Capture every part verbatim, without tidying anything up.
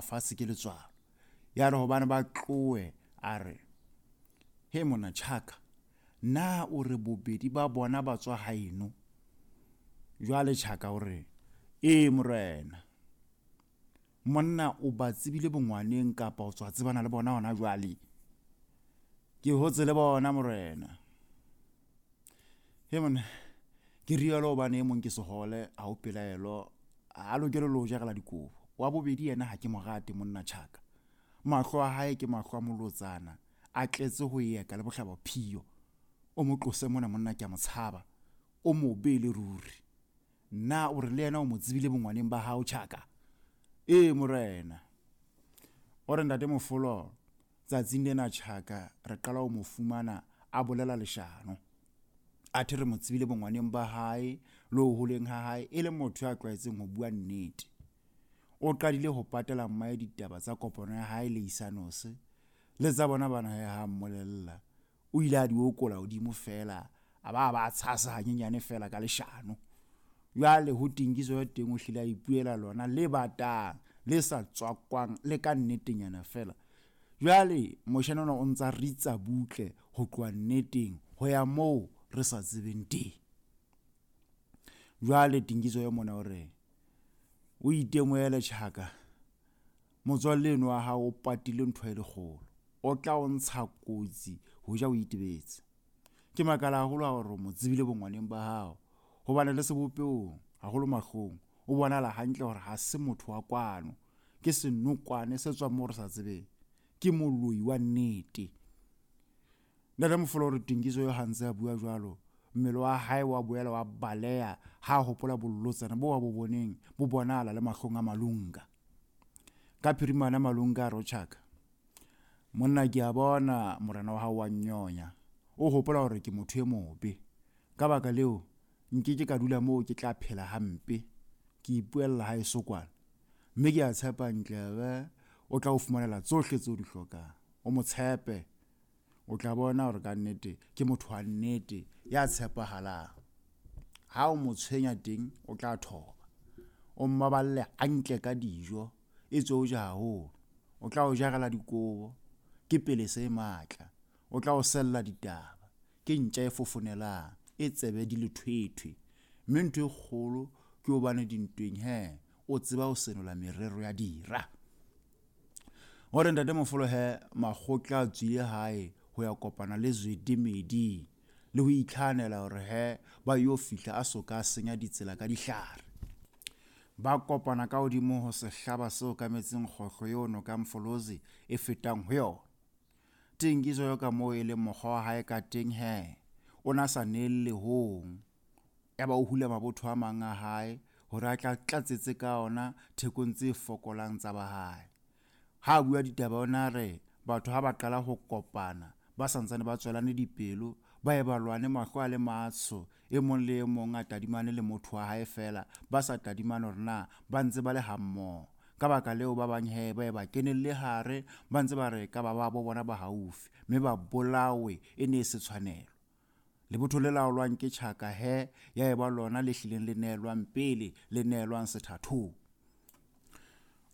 fatshe ke letswalo. Ya re hobane ba tlohe a re, "He monna Tjhaka, na o re bobedi ba bona ba tswa haeno?" Jwale Tjhaka o re, "Ee morena." Monna o ba tsebile bongwaneng kapa o tswa tsebana le bona hona jwale? Ke hotse le bona morena. He monna, ke rialo hobane e mong ke sehole, ha ho pelaelo, ha lokele le ho jarela dikobo. Wa bobedi yena ha ke mo rate monna Tjhaka. Mahlo a hae ke mahlo a molotsana, a tletse ho eka le bohlabaphiyo. O mo tlose mona monna, ke a mo tshaba. O mobe le ruri. Na o re le yena o mo tsebile bongwaneng ba hao Tjhaka? Ee morena. O re ntate Mofolo, tsatsing lena Tjhaka re qala ho mo fumana a bolela leshano. Athe re mo tsebile bongwaneng ba hae le ho holeng ha hae e le motho ya tlwaetseng ho bua nnete. O qadile ho patela mmae ditaba tsa kopano ya hae le Isanose le tsa bona bana he ha mmolella. O ile a di okola hodimo feela, a ba ba tshasa hanyenyane feela ka leshano. Jwale ho Tingiso ya teng o hlile a ipuela lona le batang, le sa tswakwang le ka nnetenyana feela. Jwale moshanyana ona o ntsa ritsa butle ho tloha nneteng ho ya moo re sa tsebeng teng. Jwale Tingiso ya mona o re, o itemohele Tjhaka, motswalle eno wa hao o patile ntho e lekgolo, o tla o ntsha kotsi ho ja o itebetse. Ke makala haholo ha hore o mo tsebile bongwaneng ba hao, hobane le sebopehong haholo mahlong o bonahala hantle hore ha se motho wa kwano, ke senokwane se tswang moo re sa tsebeng, ke moloi wa nnete. Ntate Mofolo o re Tingiso eo ha ntse a bua jwalo, mmele wa hae wa boela wa baleha ha hopola bolotsana bo a bo boneng bo bonahala le mahlong a Malunga. Ka phirimana Malunga a re ho Tjhaka, "Monna ke a bona morena wa hao wa nnyonya, o hopola hore ke motho e mobe. Ka baka leo nkeke ka dula moo ke tla phela hampe, ke ipuella haeso kwana. Mme ke a tshepa Ntlebe o tla o fumanela tsohle tseo di hlokang. O mo tshepe, o tla bona hore ka nnete ke motho wa nnete ya tshepahalang. Ha o mo tshwenya teng o tla thoba. O mmaballe hantle ka dijo, e tswe o ja haholo. O tla o jarela dikobo, ke pelese e matla. O tla o sella ditaba, ke ntja e fofonelang, e tsebe di lethwethwe. Mme ntho e kgolo ke hobane dintweng he o tseba ho senola merero ya dira." O re ntate Mofolo he makgotla a tswile hae ho ya kopana le Zwede Medi le ho itlhahanela hore he ba yo fihla a soka a senya ditsela ka dihlare. Ba kopana ka hodimo ho sehlaba se okametseng kgohlo eo noka Mfolozi e fetang ho yona. Tingiso eo ka moo e leng mokgwa wa hae ka teng he o na sa neelle hong. Yaba o hula mabotho a mang a hae hore a tla tlatsetse ka ona thekong tse fokolang tsa ba hae. Ha a bua ditaba ona re batho ha ba qala ho kopana ba santsane ba tswelane dipelo, ba ye ba lwane mahlo a le matsho, e mong le e mong a tadimane le motho wa hae feela, ba sa tadimane hore na ba ntse ba le hammoho. Ka baka leo ba bang he ba ye ba kenelle hare, ba ntse ba re ka ba babo bona ba haufi, mme ba bolawe e ne e se tshwanelo. Lebotho le laolwang ke Tjhaka he ya eba lona le hlileng le neelwang pele, le neelwang sethathong.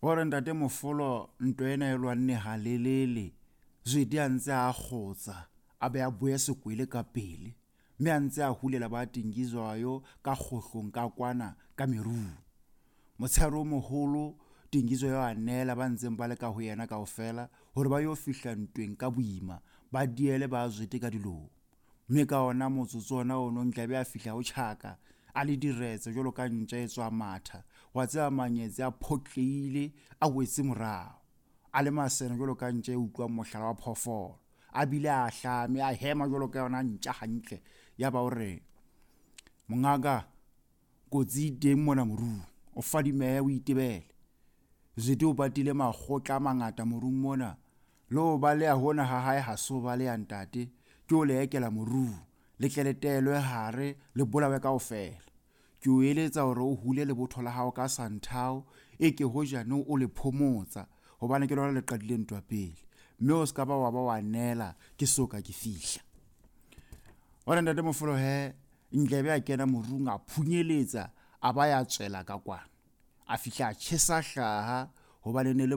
O re ntate Mofolo ntwa ena e lwanne halelele, Zwede a ntse a kgotsa, a be a boye sekwele ka pele, mme a ntse a hulela ba Tingizwayo ka kgohlong ka kwana ka merung. Motshehare o moholo Tingizwayo a neela ba ntseng ba le ka ho yena kaofela hore ba yo fihla ntweng ka boima, ba diele ba Zwede ka dilong. Mme ka ona motsotso ona ono Ntlebe a fihla ho Tjhaka a le diretse jwalo ka ntja e tswa matha. Wa tseba manyetse a photlehile a wetse morao, a le masene jwalo ka ntja e utlwang mohlala wa phoofolo, a bile a hlame a hema jwalo ka yona ntja hantle. Yaba o re, "Mongaka, kotsi e teng mona morung, o fadimehe o itebele. Zwede o patile makgotla a mangata morung mona, le ho baleha hona ha hae ha se ho baleha ntate, ke o le ekela morung, le tle le teelwe hare, le bolawe kaofela. Ke o eletsa hore o hule lebotho la hao ka santhao, e ke hojane o le phomotsa, hobane ke lona le qadile ntwa pele, mme o ska ba wa ba wa neela ke soka ke fihla." Hore ntate Mofolo he Ntlebe a kena morung a phunyeletsa, a ba ya tswela ka kwana. A fihla a tjhesa hlaha hobane ne le